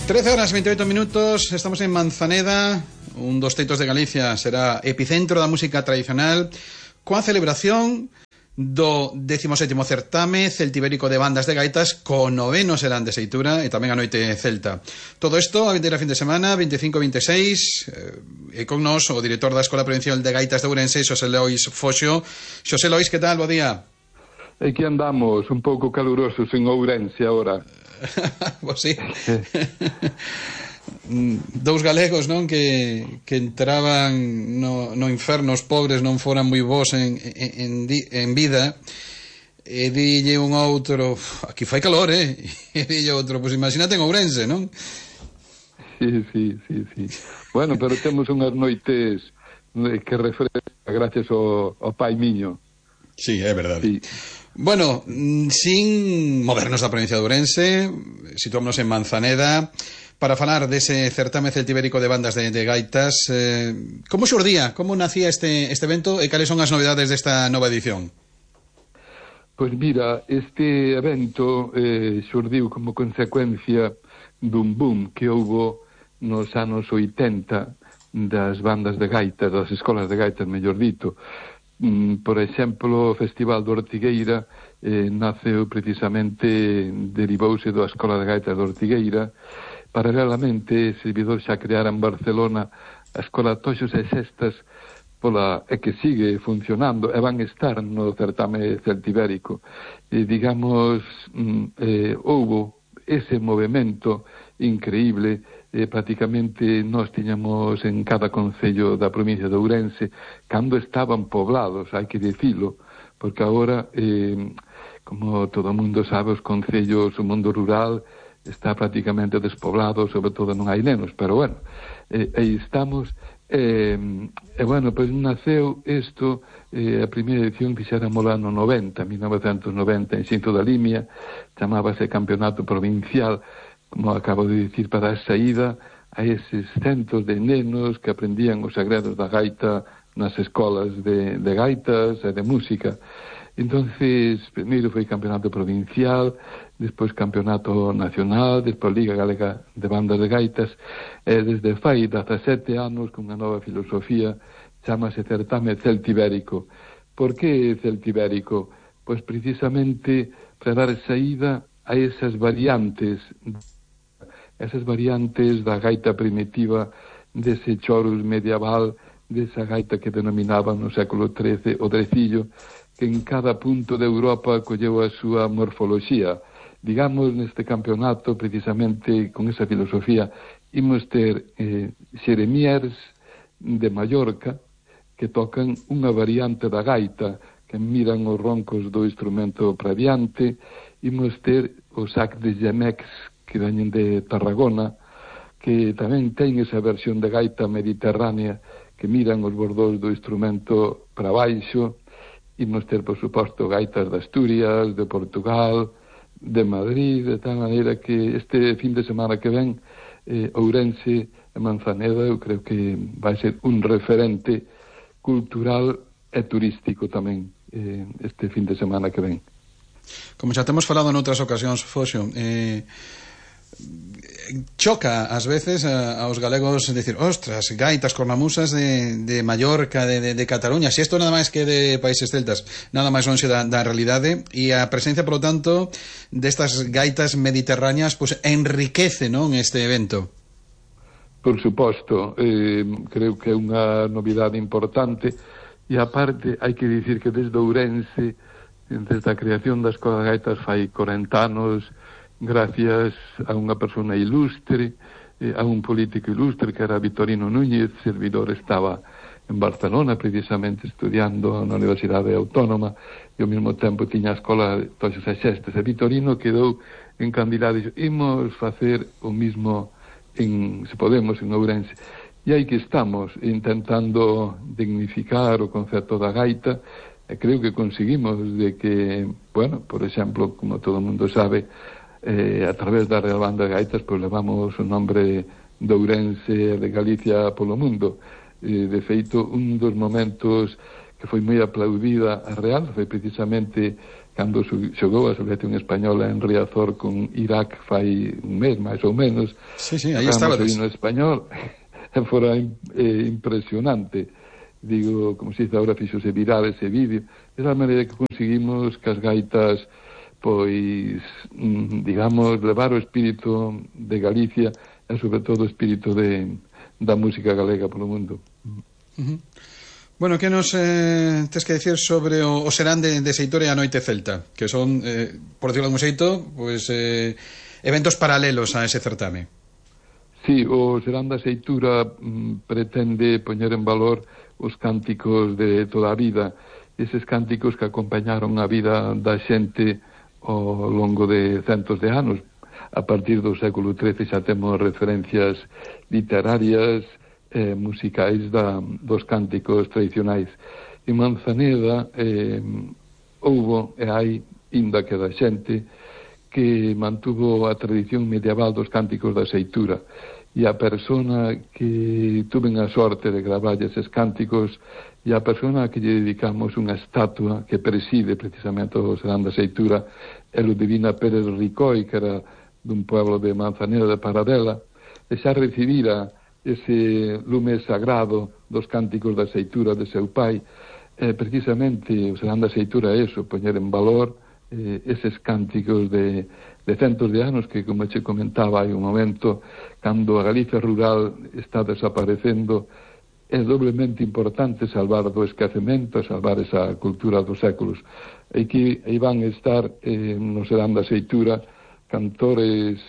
13:28, estamos en Manzaneda, un dos teitos de Galicia, será epicentro da música tradicional, coa celebración do 17º certame celtibérico de bandas de gaitas, co 9º serán de Seitura e tamén a noite celta. Todo isto a vindeira fin de semana, 25-26, e con nos o director da Escola Provincial de Gaitas de Ourense, Xosé Lois Foxo. Xosé Lois, que tal? Bo día. Aquí andamos, un pouco calurosos en Ourense agora. Pois sí. Dous galegos, non, que entraban no inferno, os pobres non foran moi bons en vida, e dille un outro, aquí fai calor, e dille outro, pois imagínate en Ourense, non? Sí. Bueno, pero temos unhas noites que refresca gracias ao pai miño. Sí, é verdade. Sí. Bueno, sin movernos da provincia de Ourense, situámonos en Manzaneda para falar dese certame celtibérico de bandas de gaitas. Como xurdía, como nacía este evento e cales son as novedades desta nova edición? Pois mira, este evento xurdiu como consecuencia dun boom que houbo nos anos 80 das bandas de gaitas, das escolas de gaitas, mellor dito. Por exemplo, o Festival de Ortigueira naceu precisamente, derivouse da Escola de Gaitas de Ortigueira. Paralelamente, servidor xa creara en Barcelona a Escola Toxos e Sestas, que sigue funcionando, e van estar no certame celtibérico. Digamos, houbo ese movimento increíble. Prácticamente nós tiñamos en cada concello da provincia de Ourense, cando estaban poblados, hai que dicilo, porque agora, como todo o mundo sabe, os concellos, o mundo rural está prácticamente despoblado, sobre todo non hai nenos, pero bueno, aí estamos. Bueno, pois naceu isto, a primeira edición fixéramos lá no 1990, en Xinto da Limia, chamábase Campeonato Provincial, como acabo de dicir, para a saída a eses centos de nenos que aprendían os segredos da gaita nas escolas de gaitas e de música. Entonces, primeiro foi campeonato provincial, despois campeonato nacional, despois Liga Galega de Bandas de Gaitas, e desde fai 17 anos, con unha nova filosofía, chamase certame celtibérico. Por que celtibérico? Pois precisamente para dar saída a esas variantes da gaita primitiva, dese chorus medieval, desa gaita que denominaban no século XIII o drecillo, que en cada punto de Europa colleu a súa morfoloxía. Digamos, neste campeonato, precisamente con esa filosofía, imos ter xeremiers de Mallorca que tocan unha variante da gaita, que miran os roncos do instrumento praviante. Imos ter o sac de Gemex, que veñen de Tarragona, que tamén ten esa versión de gaita mediterránea, que miran os bordos do instrumento para baixo. Imos ter, por suposto, gaitas de Asturias, de Portugal, de Madrid, de tal maneira que este fin de semana que ven, Ourense e Manzaneda, eu creo que vai ser un referente cultural e turístico tamén, este fin de semana que ven. Como xa temos falado en outras ocasións, Foxo, choca ás veces aos galegos decir, ostras, gaitas cornamusas de Mallorca, de Cataluña, si isto nada máis que de países celtas, nada máis lonxe da realidade, e a presencia, polo tanto, destas gaitas mediterráneas, pues enriquece, non, este evento. Por suposto, creo que é unha novidade importante, e aparte hai que dicir que desde Ourense, desde a creación da Escola de Gaitas fai 40 anos, gracias a unha persona ilustre, a un político ilustre que era Vitorino Núñez, servidor estaba en Barcelona precisamente estudiando na Universidade Autónoma e ao mesmo tempo tiña a Escola de Toxos e Sestas, e Vitorino quedou encandilado e dixo, imos facer o mismo se podemos, en Ourense. E aí que estamos, intentando dignificar o concepto da gaita, e creo que conseguimos de que, bueno, por exemplo, como todo o mundo sabe, a través da Real Banda de Gaitas, pues levamos o nombre de Ourense e de Galicia polo mundo. De feito, un dos momentos que foi moi aplaudida a Real, foi precisamente cando xogou a selección española en Riazor con Irak fai un mes, máis ou menos. Sí, aí estaba. O himno español fora impresionante. Digo, como se dice agora, fixose viral ese vídeo. Esa maneira que conseguimos que as gaitas, pois, digamos, levar o espírito de Galicia e, sobre todo, o espírito da música galega polo mundo. Bueno, que nos tes que decir sobre o serán de Seitura e a Noite Celta, que son, por decirlo de un xeito, pues, eventos paralelos a ese certame? Sí, o serán da Seitura pretende poñer en valor os cánticos de toda a vida, eses cánticos que acompañaron a vida da xente ao longo de centos de anos. A partir do século XIII xa temos referencias literarias, musicais dos cánticos tradicionais. En Manzaneda houbo e hai inda que da xente que mantuvo a tradición medieval dos cánticos da Seitura, e a persona que tuven a sorte de gravar eses cánticos e a persona que lle dedicamos unha estatua que preside precisamente o serán da Seitura é Ludivina Pérez Ricoi, que era dun pueblo de Manzaneda de Paradela, e xa recibira ese lume sagrado dos cánticos da Seitura de seu pai. Precisamente o serán da Seitura é eso, poñer en valor eses cánticos de centos de anos que, como che comentaba hai un momento, cando a Galicia rural está desaparecendo, é doblemente importante salvar do esquecemento, salvar esa cultura dos séculos. E que aí van estar no serán da Seitura cantores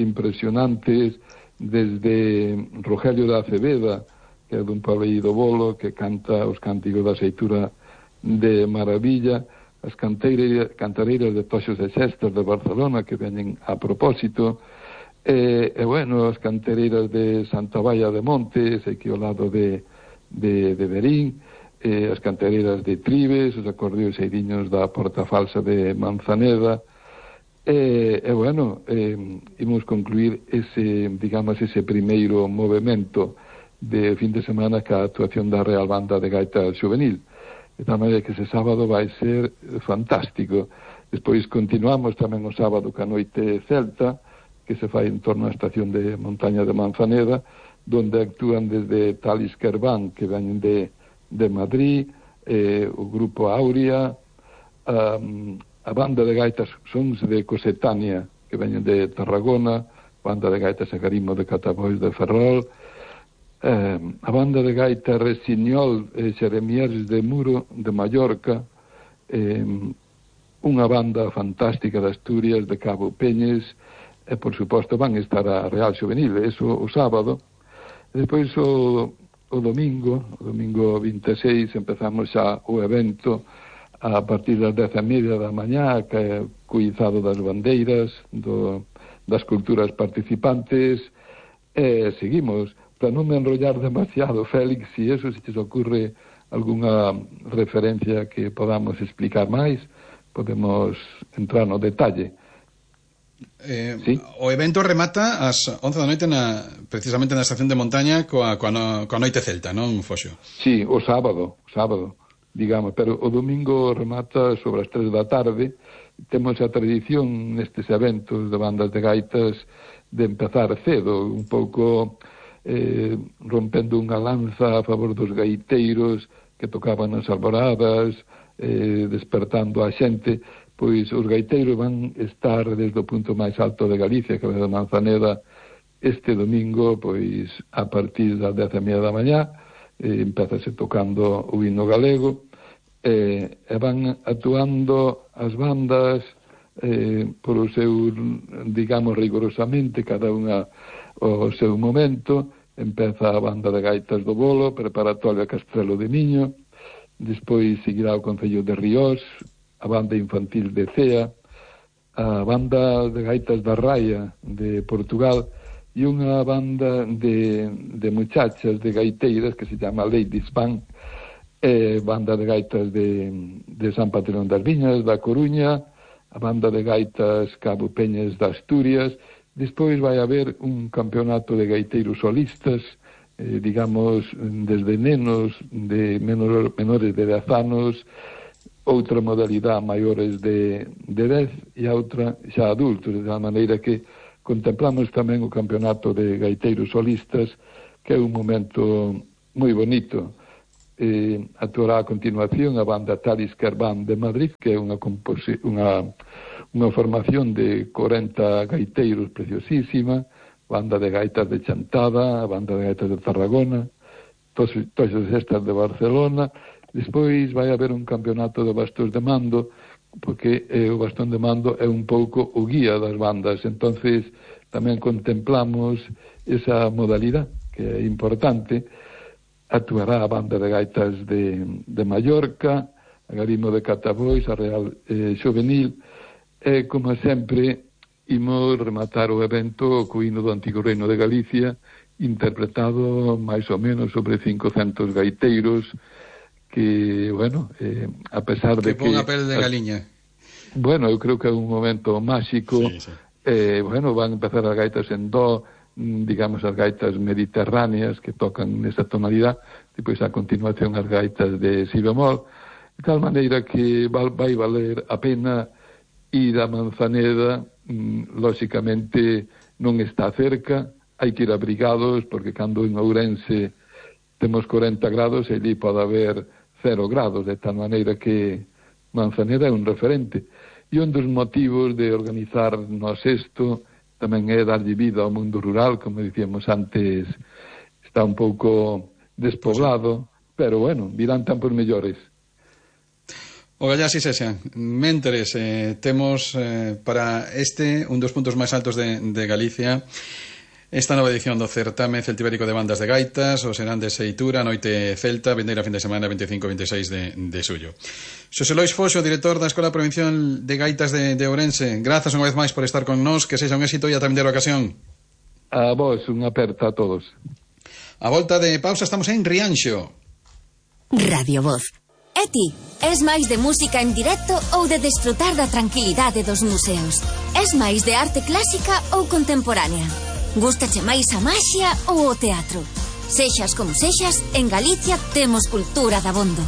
impresionantes, desde Rogelio da Aceveda, que é dun pueblo Bolo, que canta os cánticos da Seitura de maravilla, as cantareiras de Toxos de Xestas de Barcelona, que veñen a propósito, e bueno, as cantareiras de Santa Baia de Montes, aquí ao lado de Berín, as cantareiras de Tribes, os acordeos eiriños da Porta Falsa de Manzaneda, bueno, imos concluir ese primeiro movimento de fin de semana ca actuación da Real Banda de Gaita Xuvenil. De tal maneira que ese sábado vai ser fantástico. Despois continuamos tamén o sábado ca Noite Celta, que se fai en torno á estación de montaña de Manzaneda, donde actúan desde Talis Kerván, que veñen de Madrid, o grupo Aurea, a banda de gaitas Sons de Cosetania, que veñen de Tarragona, banda de gaitas Agarimo de Catabois de Ferrol, a banda de gaita Resiñol e Xeremiers de Muro de Mallorca, unha banda fantástica de Asturias, de Cabo Peñes, e por suposto van estar a Real Xuvenil, eso o sábado. E despois o domingo 26, empezamos xa o evento a partir das 10:30 da mañá, que é cuizado das bandeiras das culturas participantes, e seguimos. Para non me enrollar demasiado, Félix, si eso se te ocurre algunha referencia que podamos explicar máis, podemos entrar no detalle. ¿Sí? O evento remata ás 11 da noite precisamente na estación de montaña coa Noite Celta, non, Foxo? Sí, o sábado, digamos, pero o domingo remata sobre as 3 da tarde. Temos a tradición nestes eventos de bandas de gaitas de empezar cedo, un pouco rompendo unha lanza a favor dos gaiteiros que tocaban as alboradas, despertando a xente. Pois os gaiteiros van estar desde o punto máis alto de Galicia, que é de Manzaneda, este domingo, pois a partir das 10:30 da mañá, empezase tocando o himno galego, e van actuando as bandas por o seu, digamos, rigorosamente, cada unha o seu momento. Empeza a banda de gaitas do Bolo, preparatoria Castrelo de Miño, despois seguirá o Concello de Ríos, a banda infantil de Cea, a banda de gaitas da Raia de Portugal e unha banda de muchachas, de gaiteiras, que se chama Ladies Band, banda de gaitas de San Patrón das Viñas, da Coruña, a banda de gaitas Cabo Peñas de Asturias. Despois vai haber un campeonato de gaiteiros solistas digamos, desde nenos de menores de 10 anos, outra modalidade maiores de 10 e a outra xa adultos, de tal maneira que contemplamos tamén o campeonato de gaiteiros solistas, que é un momento moi bonito. Actuará a continuación a banda Talisker Band de Madrid, que é unha formación de 40 gaiteiros preciosísima, banda de gaitas de Chantada, banda de gaitas de Tarragona, todas estas de Barcelona. Despois vai haber un campeonato de bastóns de mando, porque o bastón de mando é un pouco o guía das bandas, entonces tamén contemplamos esa modalidade, que é importante. Actuará a banda de gaitas de Mallorca, a Garimo de Catabois, a Real Xovenil, e, como sempre, imos rematar o evento co hino do Antigo Reino de Galicia, interpretado máis ou menos sobre 500 gaiteiros, que, bueno, a pesar de que... Que pon a pel de galiña. Bueno, eu creo que é un momento máxico. Sí. Bueno, van a empezar as gaitas en do, digamos, as gaitas mediterráneas que tocan nesa tonalidade, depois a continuación as gaitas de si bemol, de tal maneira que vai valer a pena ir a Manzaneda. Lóxicamente non está cerca, hai que ir abrigados, porque cando en Ourense temos 40 grados, e ali pode haber 0 grados, de tal maneira que Manzaneda é un referente. E un dos motivos de organizar nos isto tamén é darlle vida ao mundo rural, como dicíamos antes, está un pouco despoblado, pero bueno, virán tempos mellores. O gallá si sexa. Mentres, temos para un dos puntos máis altos de Galicia esta nova edición do certame celtibérico de bandas de gaitas, o serán de Seitura, noite celta, vindeira fin de semana 25-26 de xullo. Xosé Lois Foxo, director da Escola Provincial de Gaitas de Ourense, grazas unha vez máis por estar con nós, que sexa un éxito e ata vindeira ocasión. A vos, unha aperta a todos. A volta de pausa estamos en Rianxo. Radio Voz. E ti, es máis de música en directo ou de desfrutar da tranquilidade dos museos? Es máis de arte clásica ou contemporánea? Gústache máis a maxia ou o teatro? Sexas como sexas, en Galicia temos cultura dabondo.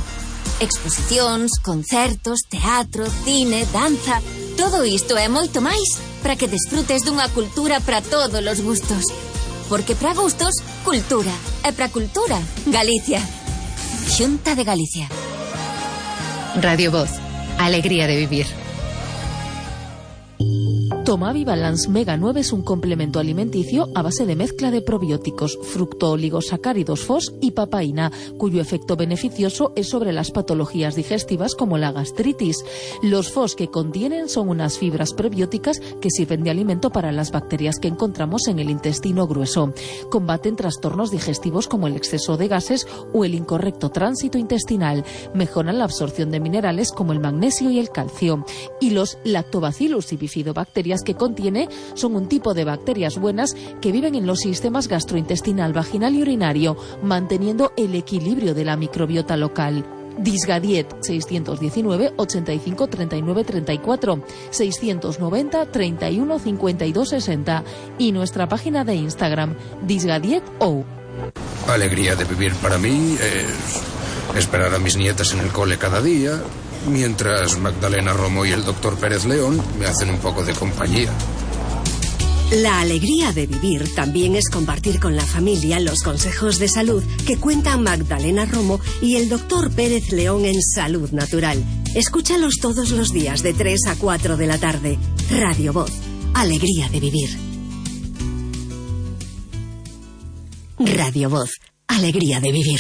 Exposicións, concertos, teatro, cine, danza... Todo isto e moito máis para que desfrutes dunha cultura para todos os gustos. Porque para gustos, cultura. E para cultura, Galicia. Xunta de Galicia. Radio Voz, alegría de vivir. Tomavi Balance Mega 9 es un complemento alimenticio a base de mezcla de probióticos, fructooligosacáridos FOS y papaína, cuyo efecto beneficioso es sobre las patologías digestivas como la gastritis. Los FOS que contienen son unas fibras prebióticas que sirven de alimento para las bacterias que encontramos en el intestino grueso. Combaten trastornos digestivos como el exceso de gases o el incorrecto tránsito intestinal. Mejoran la absorción de minerales como el magnesio y el calcio. Y los lactobacillus y bifidobacterias que contiene son un tipo de bacterias buenas que viven en los sistemas gastrointestinal, vaginal y urinario, manteniendo el equilibrio de la microbiota local. Disgadiet 619 85 39 34 690 31 52 60 y nuestra página de Instagram disgadiet.ou. Alegría de vivir para mí es esperar a mis nietas en el cole cada día, mientras Magdalena Romo y el doctor Pérez León me hacen un poco de compañía. La alegría de vivir también es compartir con la familia los consejos de salud que cuentan Magdalena Romo y el doctor Pérez León en Salud Natural. Escúchalos todos los días de 3 a 4 de la tarde. Radio Voz, alegría de vivir. Radio Voz, alegría de vivir.